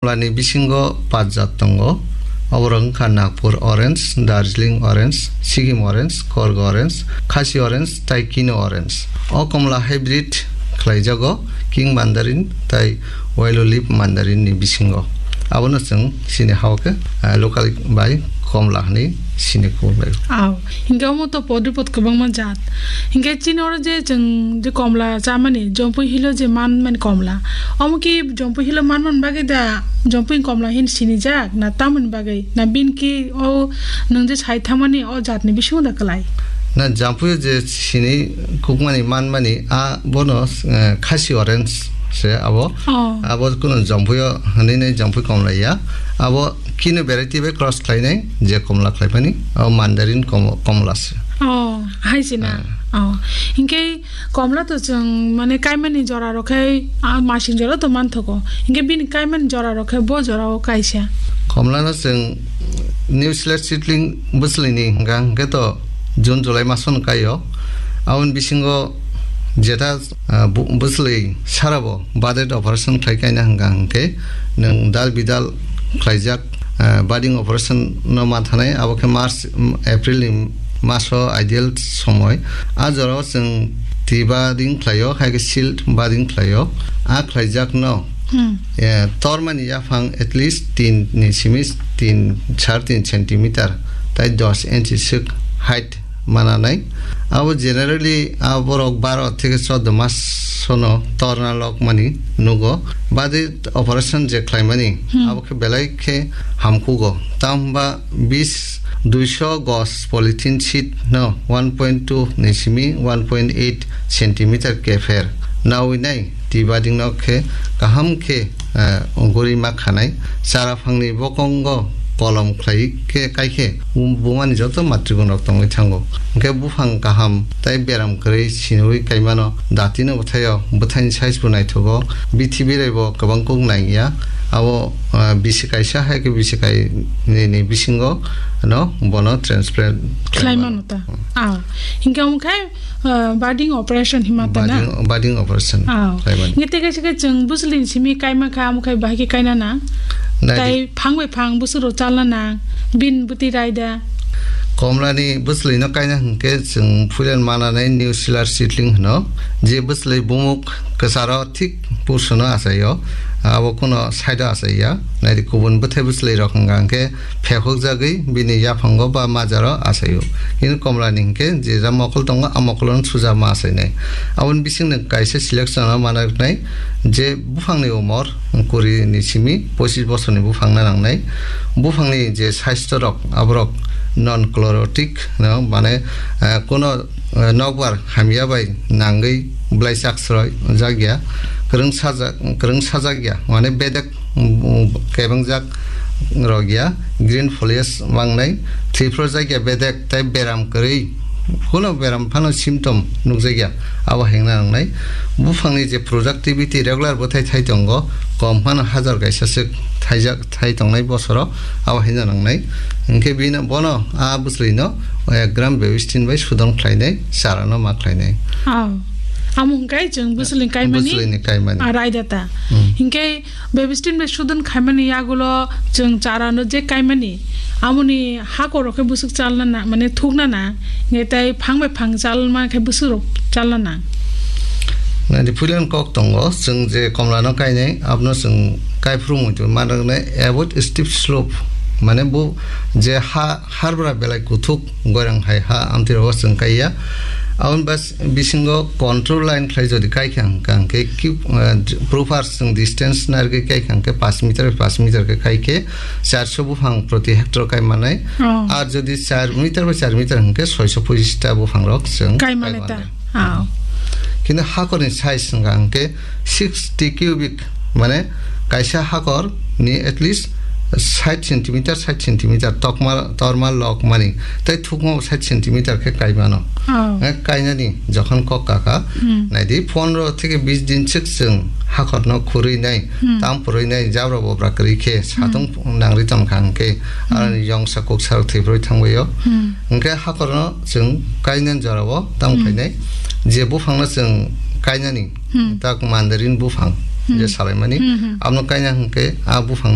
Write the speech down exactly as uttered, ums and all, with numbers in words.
Komla ni bisingo paanch jat tongo. Oborok wngkha Nagpur orange, Darjeeling orange, Sikkim orange, Korg orange, Khasi orange tei Kino orange. O komla hybrid khlaijago King Mandarin tei Yellow Leaf Mandarin ni bisingo. Abono chwng chini hao khe, eh, local bai komla hwnwi sini kubun bai. Aw, hinkhe omo to pod ripod kwbangma jat. Hinkhe chini oro je chwng je komla chamani, Jampui Hill o je manmani komla. Omo ki Jampui Hill o manmani bagwi da Jampui komla hin sinijak na tamoni bagwi? Na bin ki o nwng je sai thangmani o jatni bisingo da kwlai? Na Jampui o je sini kukmani manmani a bono, eh, Khasi orange se abo. Oh. Abo kuno Jampui o hwnwi nai Jampui komla ya. Abo Kino variety bai cross khlainai je komla khlaimani, o Mandarin kom-, komla se. Oh, hai se na. Ah. Oh. Hinkhe komla to chwng mane kaimani jora rok khai, ah, masing jora to manthogo. Hinkhe bini kaimani jora rok khai bo jora o kaisa. Komla no chwng New Zealand seedling bwswlwi ni hwnka hwnkhe to June July masono kaio. Aboni bisingo jeta, ah, bu-, bwswlwi sarabo budget operation khlai kaina hwnka hwnkhe nwng dal bidal khlaijak, ah, budding operation no manthanai, abo khe March, mm, April ni maso ideal somoi. A jorao chwng twi budding khlaio, hai khe sealed budding khlaio. A khlaijakno, hmm, eh, tormani yaphang at least tin ni simi tin, sar tin centimeter, tai dos inchi swk height mananai. Abo generally a borok baro theke chordo mas sono torna lok mani nugo. Budget operation je khlaimani, hmm, abo khe belai khe hamkhugo. Tamo hwnba bis, duiso gos polythene sheet no one point two ni simi one point eight centimeter kepher nawi nai. Twi budding no khe kaham khe, eh, guri ma khanai. Chara phangni bokongo kolom khlai khe kai khe bumani joto matrigon rok tongwi thango. Hwnkhe buphang kaham tai beram kwrwi sinwi kaimano datino bwthaio, bwthaini size bo naithogo, bithi birai bo kwbang kuk nangya. Abo, eh, bisi kaisa hai khe bisi kai ni, ni bisingo no bono transplant khlai mano ta. Hmm. Ah, hinkhe omo khai ah, budding operation hima ta na? Budding, budding operation. Ah. Khlaimani. Nge teke seke chwng bwswlwini simi kaima kha, amo khai bahai khe kaina nang. Nai di. Tai phang bai phang bwswk rok chalna nang. Bin bwtwi rai da. Komlani bwswlwino kaina hwnkhe chwng puilan mananai New Zealand seedling hwno. Je bwswlwi bumuk kwcharo thik purswno achaio. Abo kuno side-o achaiya. Nai di kubun bwthai bwswlwi rok hwnka hwnkhe phekhokjagwi bini yaphango ba majaro achaio. Hino komlani hinkhe je ja mokol tongo, a mokolono suja ma achainai. Aboni bisingni kaisa selection-o manaknai je buphangni umor kuri ni simi pochis bosorni buphang na nangnai. Buphangni je saisto rok, aborok non chlorotic no, mane, eh, kuno, eh, nokbar hamya bai nangwi bwlai chak sroi jakya, kwrwng sajak, kwrwng sajakya, mane bedek um, um, kebengjak rok ya, green foliage mangnai, thwiphrojakya bedek tei beram kwrwi, kuno beram phano symptom nukjakya, abo hengna nangnai. Buphangni je productivity regular bwthai thai tongo, kom phano hajar kaisa swk thaijak thai tongnai bosoro, abo hengna nangnai. Hinkhe bino, bono a bwswlwino ek gram Bebistin bai sudon khlainai, charano ma khlainai. Oh. Amo hwnkhe chwng bwswlwini kaimani, bwswlwini kaimani. Ah, raida ta. Hmm. Hinkhe Bebistin bai sudon khaimani yagulo chwng chara no je kaimani, amoni hakor rok khe bwswk chalna na, mane thukna na, nge tai phang bai phang chalma khe bwswk rok chalna na. Nadi puilan kok tongo, chwng je komla no kainai, abno chwng kaiphuru muitu manrwknai avoid steep slope, mane bo je ha harbra belai kuthuk goirang hai ha amtwi rogo chwng kaiya. Aboni bas-, bisingo control line khlai jodi kai kha hwnkha hwnkhe ki, eh, proper chwng distance narwgwi kai kha hwnkhe paanch meter bai paanch meter khe kai khe charso buphang proti hectare kai manai. Oh. Ar jodi char meter bai char meter hwnkhe soiso pochis ta buphang rok chwng kai manai ta. Aw. Kintu hakorni size wngkha hwnkhe sixty cubic, mane kaisa hakor ni at least sait centimeter, sait centimeter tokma, torma lok mani, tei thukma bo sait centimeter khe kai mano. Aw. Eh, kainani jokhon kok kaka, hmm, naidi pondro theke bis din sik chwng hakorno khurwi nai, hmm, tam purwi nai, jabra bobra kwrwi khe, hmm, satung nangri tongkha hwnkhe, hmm, aroni yongsa kuksa rok thwiprwi thangbaio. Hmm. Hwnkhe hakorno chwng kainani jorao tamo, hmm, khainai, je buphangno chwng kainani, hmm, tak mandarin buphang, hmm, je salaimani, hmm, hmm, abono kaina hwnkhe a buphang